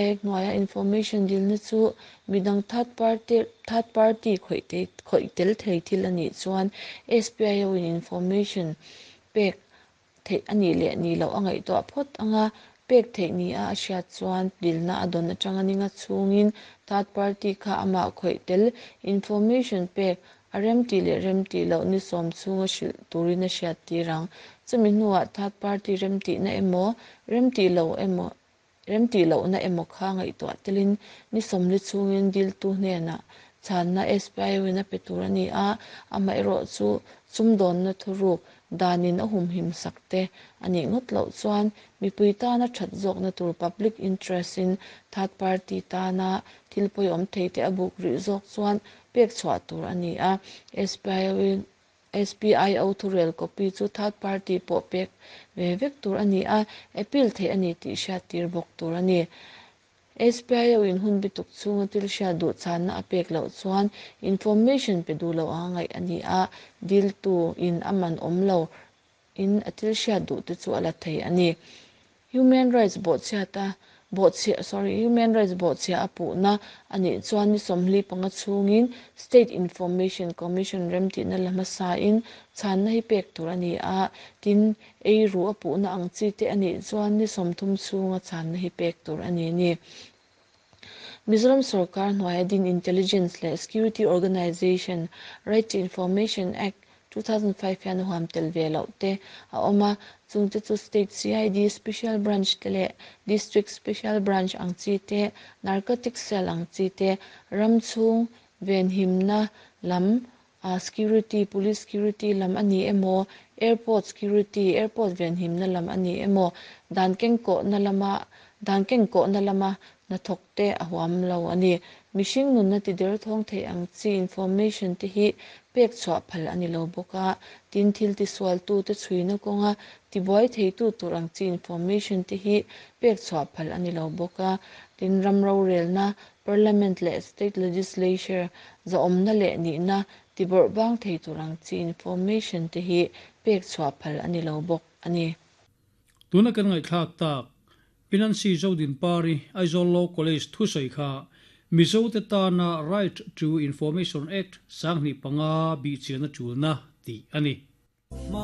Act hnuaia information dilna chu midang third party third party khawih khawih tel thei thil a nih chuan SPIO in information pek theih a nih leh nih loh a ngaihtuah phawt anga pek theih ni a a hriat chuan dilna a dawn atanga ninga chhungin third party kha amah khawih tel information pek a remtih leh remtih loh ni sawm chhunga hrilh turin a hriat tir ang. Chumi hnuah third party remtihna emaw remtih loh emaw remtih lohna emaw kha ngaihtuah telin ni sawmli chhungin diltu hnenah chhanna SPIO in a pe tur a ni a, amaherawh chu sumdawnna thuruk danin a humhim sak te a nih ngawt loh chuan mipui tana that zawkna tur public interest in third party tana thil pawimawh thei te a buk rih zawk chuan pek chhuah tur a ni a, SPIO in SPIO thurel copy chu third party pawh pek ve vek tur a ni a, appeal theih a ni tih hriat tir bawk tur a ni. SPIO in hun bituk chhunga thil hriat duh chhanna a pek loh chuan information pe duh lo anga ngaih a ni a, diltu in a man awm lo in a thil hriat duh te chu a la thei a ni. Human rights bawhchhiata bawhchhiah sorry human rights bawhchhiah a puhna a nih chuan ni sawmhli panga chhungin State Information Commission remtihna la hmasain chhanna hi pek tur a ni a, tin eiru a puhna ang chi te a nih chuan ni 30 chhunga chhanna hi pek tur a ni ni. Mizoram Sarkar hnuaia din Intelligence leh Security Organization Right to Information Act 2005 hian huam tel ve loh te a awm a, chungte chu State CID Special Branch te leh District Special Branch ang chi te, Narcotic Cell ang chi te, ram chhung venhimna lam security, police security lam a ni emaw, airport security, airport venhimna lam a ni emaw, dan kengkawhna lama dan kengkawhna lama hnathawk te a huam lo a ni. Mihring nunna ti der thawng thei ang chi information te hi pek chhuah phal a ni lo bawk a, tin thil ti sual tu te chhuina kawnga tibuai thei tu tur ang chi information te hi pek chhuah phal a ni lo bawk a, tin ram rorelna parliament leh state legislature zawmna leh nihna tibawrh bang thei tur ang chi information te hi pek chhuah phal a ni lo bawk a ni. Tuna kan ngaihthlak tak Pi Nancy Zodinpari Aizawl Law College thusai kha Mizo te tana Right to Information Act 2005 bihchian a tulna tih a ni.